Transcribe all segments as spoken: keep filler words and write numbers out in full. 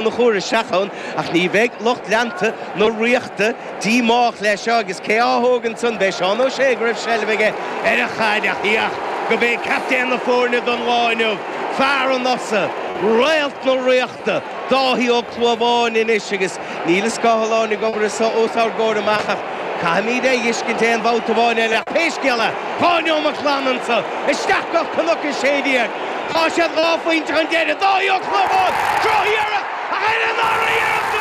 Conchúir isteach ann ach ní bheidh lucht leanta na Ríochta díomách leis seo agus cé á thógann san b'é Seán Ó Sé go raibh seilbh aige ar an chaid ach íoch go b'é captaen na foirne don lá inniu fear an Fhosa réalt na Ríochta Dáithí Ó Clúmháin anois agus níl an scáileán ag obair os ár gcomhair amach ach caithfimid é a fheiscint aon bhabhta amháin eile pé scéal é dhá neomat glan anseo isteach go Cnoc a sé déag Tá siad dhá phointe chun deiridh Dáithí Ó Clúmháin drochiarracht ach ar an dara hiarracht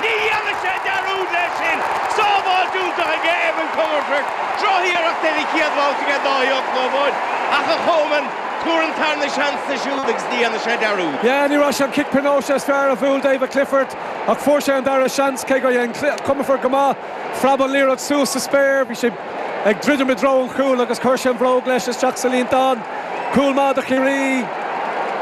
ní dhéanfaidh sé dearúd leis sin sábháilt iontach aige Evan Comerford drochiarracht ar an chéad bhabhta aige Dáithí Ó Clúmháin ach a Choman tabhair an tarna seans dó siúd agus ní dhéanfaidh sé dearúd. Yeah, ní raibh sé an cic pionóis is fearr a bhuail David Clifford ach fuair sé an dara seans cé go dhein Comerford go maith phreab an liathróid suas sa spéir, bhí sé ag druidim i dtreo an chúil agus chuir sé an bhróg leis isteach sa líontán. Cúl maith do Chiarraí.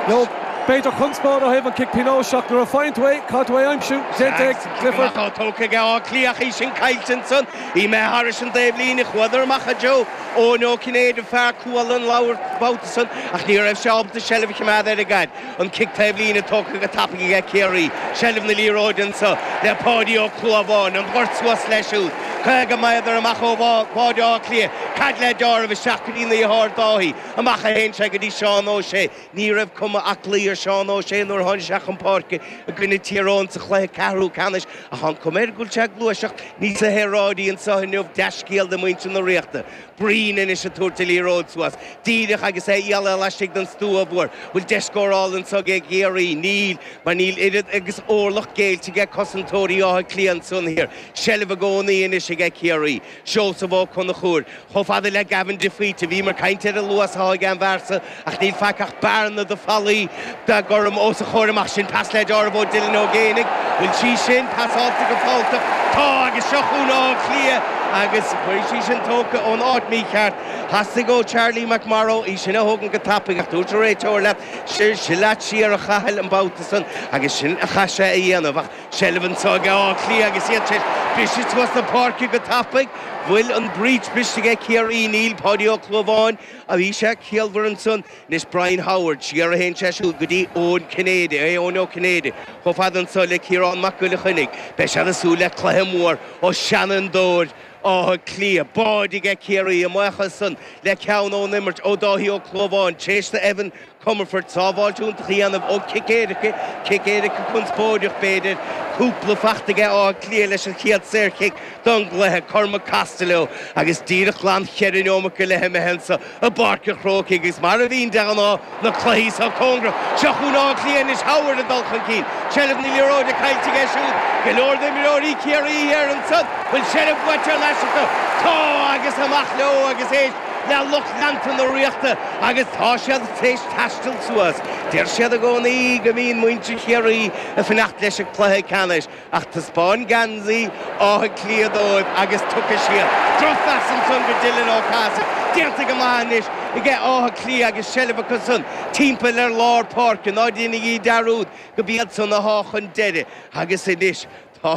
No b'fhéidir conspóid ó thaobh an cic pionóis ach nuair a faigheann tú é caithfidh tú é a aimsiú déanta ag Clifford. Tá tógtha aige Áth Cliath í sin caillte ansan í mé thairis an taobh líne chuadar amach a Joe Eoin Ó Cinnéide fear cuala an leabhar babhta san ach ní raibh sé ábalta seilbh a choimeád ar an gcaid an cic taobh líne tógtha go tapaidh aige Ciarraí seilbh na liathróide anseo le Páidí Ó Clúmháin an ghort suas leis siúd caoga méadar amach ó bháide Átha Cliath cad le deáramh isteach go dtí na dheartháir Dáithí amach a théann sé go dtí Seán Ó Sé ní raibh cuma aclaí ar Seán Ó Sé nuair a tháinig sé chun páirce i gcoinne Tír Eoghain sa chluiche ceathrú ceannais ach an cuma air go bhfuil sé ag gluaiseacht níos saoráidí anseo inniu dea-scéal do mhuintir na Ríochta. Breen anois ag tabhairt an liathróid suas díreach agus é ialla laistigh den stua mhór bhfuil deis scórála anseo ag Ciarraí níl mar níl oiread agus orlach géillte aige cosantóirí Átha Cliath ansan thiar seilbh i gcónaí anois aige Ciarraí Seosamh Ó Conchúir chomh fada le Gavin de Faoite bhí mar caint ar an luas atá ag an bhfear ach níl faic ach bearna de fallaí de gorm os a chomhair amach sin pas le deáramh ó Dylan Ó Géanaigh bhfuil sí sin pasáilte go fáilteach tá agus seo chugainn Áth Cliath agus bhí sí sin tógtha ón áit mícheart Theastaigh ó Charlie McMorrow í sin a thógann go tapaidh ach dúirt an réiteoir leat sin sin leat siar a Chathail an babhta san agus sin a chaith sé a dhéanamh ach seilbh anseo ag Áth Cliath agus iad sé briseadh suas na páirce go tapaidh bhfuil an breach briste aige Ciarraí níl Páidí Ó Clúmháin a bhí sé ciallmhar ansan anois Brian Howard siar a théann sé siúd go dtí Eoin Cinnéide é Eoin Ó Cinnéide chomh fada anseo le Ciarán Mac Giolla Chainnigh beidh siad ag súil le cluiche mór ó Seanfhondúir Átha Cliath báide aige Ciarraí amach san le ceann ón imirt ó Dáithí Ó Clúmháin tar éis Evan Comerford sábháilt iontach a dhéanamh ó cic éirice cic éirice conspóideach b'fhéidir cúpla fachta aige Áth Cliath leis an chéad saorchic don gcluiche Cormac Costello agus díreach glan cheithre neomat go leith imithe anseo i bPáirc an Chrócaigh agus mar a bhíonn de ghnáth na cluichí seo cóngarach seo chugainn Áth Cliath anois Howard ag dul chun cinn seilbh na liathróide caillte aige siúd go leor d'imreoirí Ciarraí ar ansan bhfuil seilbh buaite ar ais acu tá agus amach leo agus éist le lucht leanta na Ríochta agus tá siad tar éis taisteal suas. Deir siad i gcónaí go mbíonn muintir Chiarraí ag fanacht leis an cluiche ceannais ach taispeáin geansaí Átha Cliath dóibh agus tiocfaidh siad. Drochphas ansan go Dylan Ó Cathasaigh déanta go maith anois aige Áth Cliath agus seilbh acu san timpeall ar lár páirce ná déanaigí dearúd go mb'iad san atá chun deiridh agus anois Tá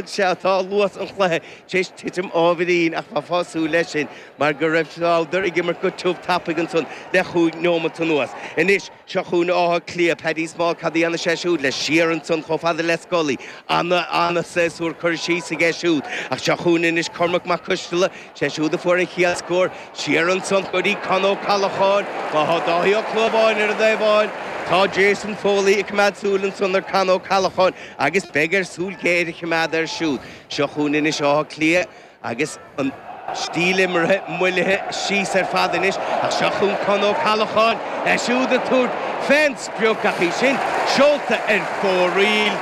sé tá luas an chluiche tar éis titim ábhairín ach bheifeá ag súil leis sin mar go raibh siad ag imirt go tiubh tapaidh ansan le chúig neomat anuas. Anois seo chugainn Áth Cliath Paddy Small cad a dhéanfaidh sé siúd le siar ansan chomh fada le Scully ana ana séasúr cur síos aige siúd ach seo chugainn anois Cormac Mac Coisteala sé siúd a fuair an chéad scór siar ansan go dtí Con Ó Callacháin má tá Dáithí Ó Clúmháin ar an dtaobháin Tá Jason Foley ag coimeád súil ansan ar Con Ó Callacháin agus beidh air súil ghéar a choimeád air siúd. Seo chugainn anois Áth Cliath agus an stíl imeartha moillithe síos ar fad anois ach seo chugainn Con Ó Callacháin é siúd ag tabhairt fén sprioc ach í sin seolta ar fóraoil.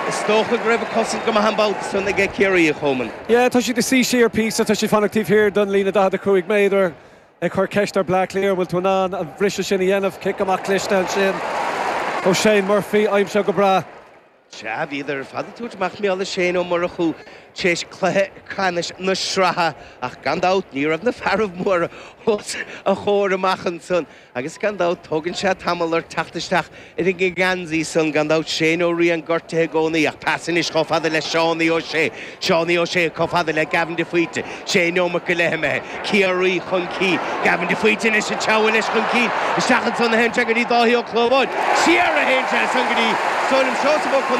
Is dócha go raibh cosaint go maith an babhta san aige Ciarraí a Choman. Yeah, tá siad ag suí siar píosa tá siad fanacht taobh thiar don líne daichead a cúig méadar ag cur ceist ar Bleá Cliath bhfuil tú in ann an briseadh sin a dhéanamh cic amach cliste ansin ó Shane Murphy aimsithe go breá. Sea bhíodar ar fad ag tabhairt amach mar gheall ar Shane Ó Murchú tar éis cluiche ceannais na sraithe ach gan dabht ní raibh na fearaibh móra os a chomhair amach ansan agus gan dabht tógann sé tamall ar teacht isteach ar an ngeansaí san gan dabht Shane Ó Riain gortaithe i gcónaí ach pas anois chomh fada le Seánie Ó Sé Seánie Ó Sé chomh fada le Gavin de Faoite sé neomat go leith imithe Ciarraí chun cinn Gavin de Faoite anois an teamhail leis chun cinn isteach ansan a théann sé go dtí Dáithí Ó Clúmháin siar a théann sé san go dtí Is dóigh liom Seosamh